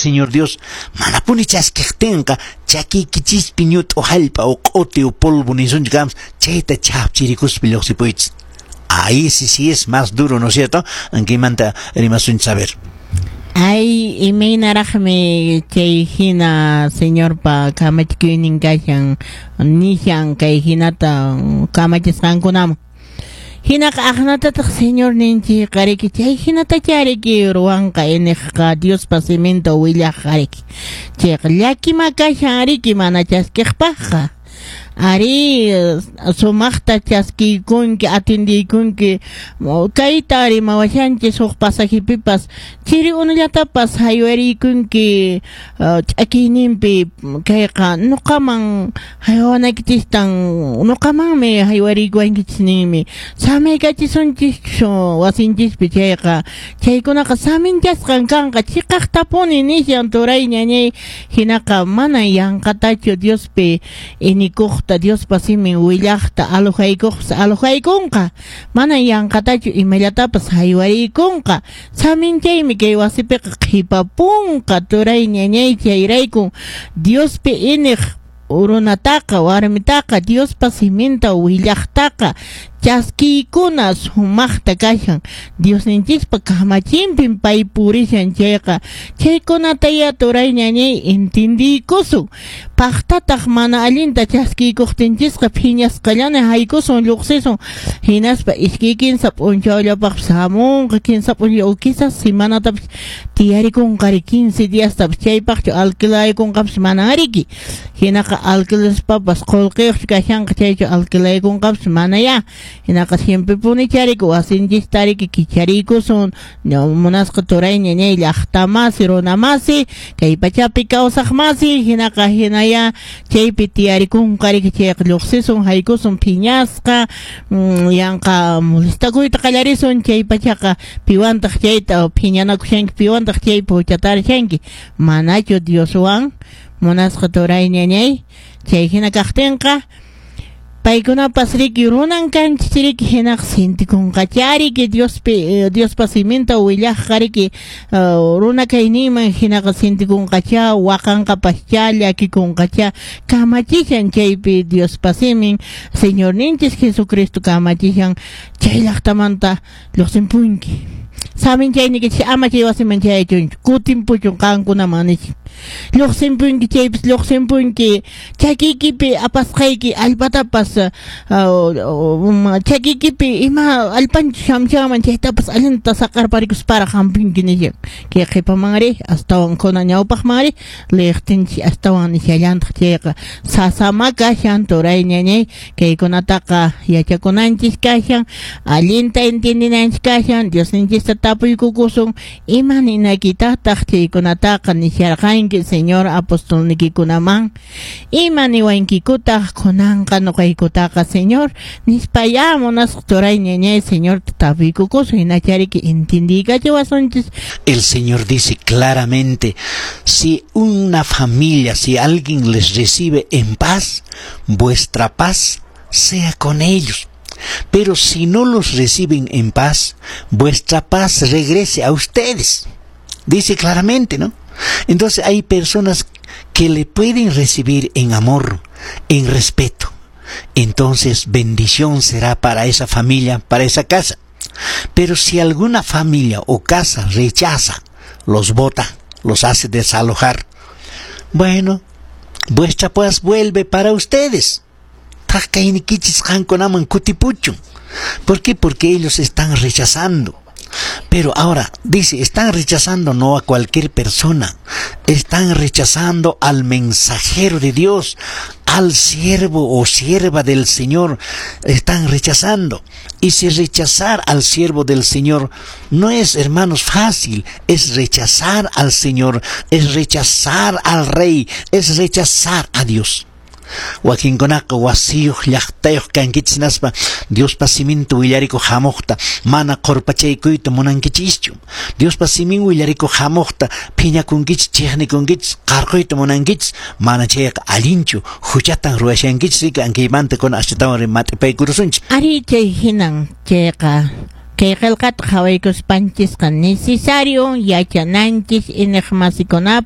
Señor Dios. Manapuni chaskiqtinqa chakiykichispi ñut'u hallp'a o q'uti o polvo nisunchik kams chayta chhapchirikuspa lluqsipuychis. Ahí sí, sí es más duro, ¿no es cierto? Ankaymanta rimasunchis, a ver. Ay, imaynaraqmi chay hina Señorpa kamachikuynin kashan, nishan kay hinata kamachisqankunaman. Hinaqa aqnatataq Señor ninchikqa riki chay hinatachá riki ruwanqa iniqqa Diospa siminta willaqqa riki. Chayqa llakima kashan riki mana chaskiqpaqqa. Ari, sumaqta chaskiykunki, atendiykunki, kayta rimawashanchis huk pasajepipas chiri unullatapas haywariykunki ch'akiyninpi kayqa nuqaman haywanaykichistan nuqamanmi haywariykuwankichis ninmi samaykachisunchis wasinchispi chayqa chaykunaqa saminchasqan kanqa chiqaqtapuni nishan turay ñañay hinaqa mana yanqatachu Diospi inikuqta Diospa simin willaqta alojaykuqpas alojaykunqa mana yanqatachu imallatapas haywariykunqa saminchaymi kay wasipiqa qhipapunqa turay ñañay chayraykun Diospi iniq runataqa warmitaqa Diospa siminta willaqtaqa chaskiykuna sumaqta kashan Diosninchispa kamachinpin pay purishan chayqa chaykunataya turay ñañay entendiykusun paqtataq mana allinta chaskiykuqtinchisqa phiñasqallana haykusun lluqsisun hinaspa iskay kinsa p'unchawllapaqpas hamunqa kinsa p'unchaw quizás semanatapas tiyarikunqari 15 diastapas chaypaqchu alquilaykunqapas mana riki hinaqa alquilaspapas qullqiyuqchu kashanqa chaychu alquilaykunqapas mana ya hinaqa siempre puni chariku wasinchista riki kichariykusun munasqa turay ñañay llaqtamasi runamasi kay pachapi kawsaqmasi hinaqa hinaya chaypi tiyarikunqa riki chayqa lluqsisun haykusun phiñasqa yanqa molestakuyta qallarisun chay pachaqa piwantaq chayta phiñanakushanki piwantaq chaypi huchatarishanki manachu Dioswan munasqa turay ñañay chay hina kaqtinqa paykunapas riki runan kanchis riki hinaqa sintikunqachá riki Diospi Diospa siminta willaqqa riki runa kayninman hinaqa sintikunqachá waqanqapaschá llakikunqachá kamachishan chaypi Diospa simin Señorninchis Jesucristo kamachishan chay llaqtamanta lluqsinpunki saminchaynikichis ama chay wasiman chayachunchu kutinpuchun qankunaman nishan lluqsinpunki chaypis lluqsinpunki chakiykipi apasqayki allpatapas chakiykipi ima allpanchu shamshanman chaytapas allinta saqarparikusparaq hampunki nishan kay qhipamanri astawan kuna ñawpaqmanri liqtinchis astawan nishallantaq chayqa sasama kashan turay ñañay kaykunataqa yachakunanchis kashan allinta entiendinanchis kashan Diosninchista tapuykukusun ima ninakitataq chaykunataqa nisharqanki Señor apostolnikikunaman ima niwankikutaq kunanqa nuqaykutaqa Señor nispaya munasqa turay ñañay Señor tapuykukusun hinachariki entiendiykachiwasunchis. El Señor dice claramente, si una familia, si alguien les recibe en paz, vuestra paz sea con ellos. Pero si no los reciben en paz, vuestra paz regrese a ustedes. Dice claramente, ¿no? Entonces hay personas que le pueden recibir en amor, en respeto. Entonces bendición será para esa familia, para esa casa. Pero si alguna familia o casa rechaza, los bota, los hace desalojar, bueno, vuestra paz vuelve para ustedes. ¿Por qué? Porque ellos están rechazando. Pero ahora, dice, están rechazando no a cualquier persona, están rechazando al mensajero de Dios, al siervo o sierva del Señor, están rechazando. Y si rechazar al siervo del Señor no es, hermanos, fácil, es rechazar al Señor, es rechazar al Rey, es rechazar a Dios. Wakinkunaqa wasiyuq llaqtayuq kankichis hinaspa Diospa siminta willarikuq hamuqta mana qurpachaykuyta munankichischu. Diospa simin willarikuq hamuqta phiñakunkichis, chiqnikunkichis, qarquyta munankichis, mana chayqa allinchu, huchatan ruwashankichis riki ankaymanta kuna astawan mat'ipaykurusunchik. Ari chay hinan chayqa kay qillqata qhawaykuspanchisqa necesario yachananchis iniqmasikunapaq.